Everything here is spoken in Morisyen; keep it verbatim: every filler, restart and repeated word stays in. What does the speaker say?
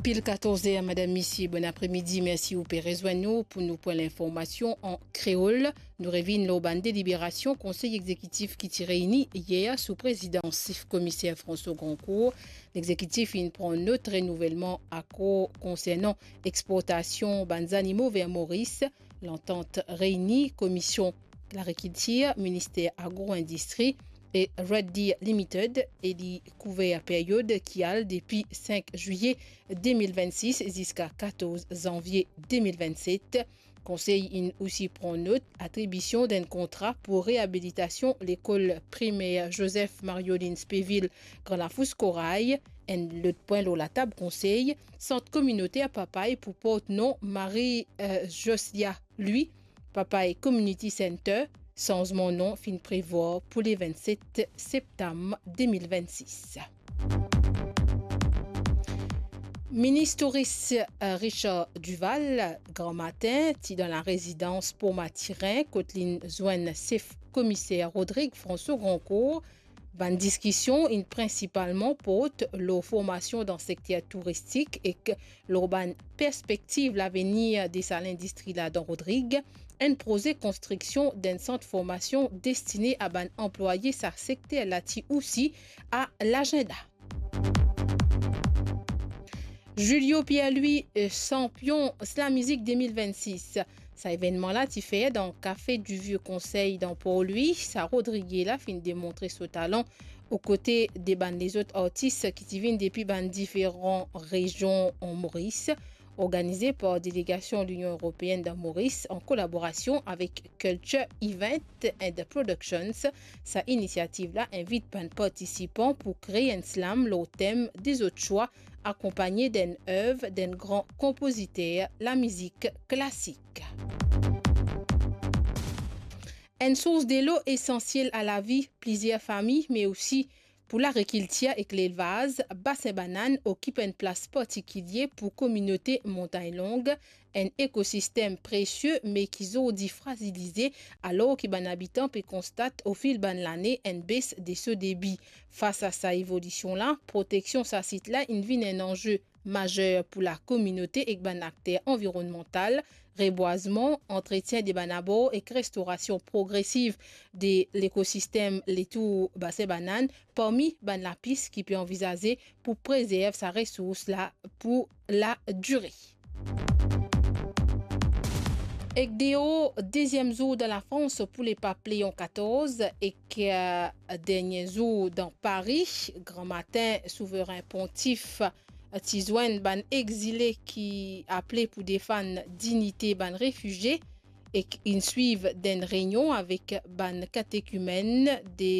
Pil katorz er, madam, misie, bon apremidi, mersi ou pe rezwenn nou pou nou pran linformasion an kreol. Nou revinn lor bann deliberasion Konsey Egzekitif ki ti reyni yer sou prezidans sef Komiser François Grandcourt. Legzekitif inn pran not renouvelman akor konsernan exportasion bann zanimo ver Moris. Lantant reyni Komisie Lagrikiltir, Minister Agro-Indistri e Red Deer Limited, e li kouver period ki al depi sink zwiye de mil vennsis ziska katorz zanvie de mil vennset. Konsey inn osi pran not atribision d'enn kontra pou reabilitasion lekol primer Joseph Mariolin Spéville, Gran Lafous Koray. Enn lot pwin lor latab Konsey, sant kominoter Papay pou port nom Marie, euh, Josiah Louis, Papay Community Center. Sanzman nom finn prevwar pou le vennset septam de mil vennsis. Minis Touris, euh, Richard Duval, gramatin, ti dan larezidans Port Mathurin, kot linn zwenn sef Komiser Rodrigue François Grandcourt. Bann diskision inn prinsipalman port lor formasion dan sekter touristik ek lor bann perspektiv lavenir de sa lindistri la dan Rodrig. Enn proze konstriksion d'enn sant formasion destine a bann anplwaye sa sekter la ti osi a lazinda. Julio Pierre-Louis, euh, sanpion Slam Mizik de mil vennsis. Sa evennman la ti fer dan Café du Vieux Conseil dan Port-Louis. Sa Rodrige la finn demontre so talan okote de bann lezot artis ki ti vinn depi bann diferan rezion an Moris. Organize par delegasion Linion Eropeenn dan Moris an kolaborasion avek Culture Event and Productions, sa inisiativ la invit bann partisipan pou kree enn slam lor tem de zot swa, akonpagne d'enn ev d'enn gran konpoziter lamizik klasik. Enn sours delo esansiel a lavi plizier fami, me osi pou lagrikiltir ek lelvaz, Basin Banann okip enn plas partikilie pou kominote Montagn Longue, enn ekosistem presie, me ki zordi frazilize, alor ki bann abitan pe konstat ofil bann lane enn bes de so debi. Fas a sa evolision la, proteksion sa sit la inn vinn enn anze mazer pou lakominote ek bann akter anvironnmantal, rebwazman, antretien de bann abor ek restorasion progresiv de lekosistem letour Basin Banann, parmi bann lapis ki pe anvizaze pou prezerv sa resours la pou ladire. Ek deor deziem zour dan Lafrans pou le pap Leon katorz ek, eh, dernie zour dan Pari, Gramatin Souverin Pontif ti zwenn bann exile ki aple pou defann dinite bann refizie ek inn swiv d'enn reynion avek bann katekimenn de